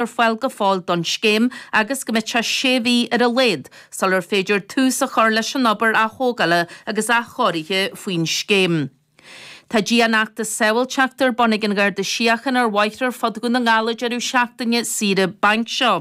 Ar fáil go fóill don scéim agus go mbeidh sé sé mhí ar a laghad sular féidir tús a chur leis an obair aththógála agus athchóirithe faoin scéim. Tá dianfheachtas sábháilteachta ar bun ag an Gharda Síochána ar bhóithre ar fud Dhún na nGall an deireadh seachtaine saoire bainc seo.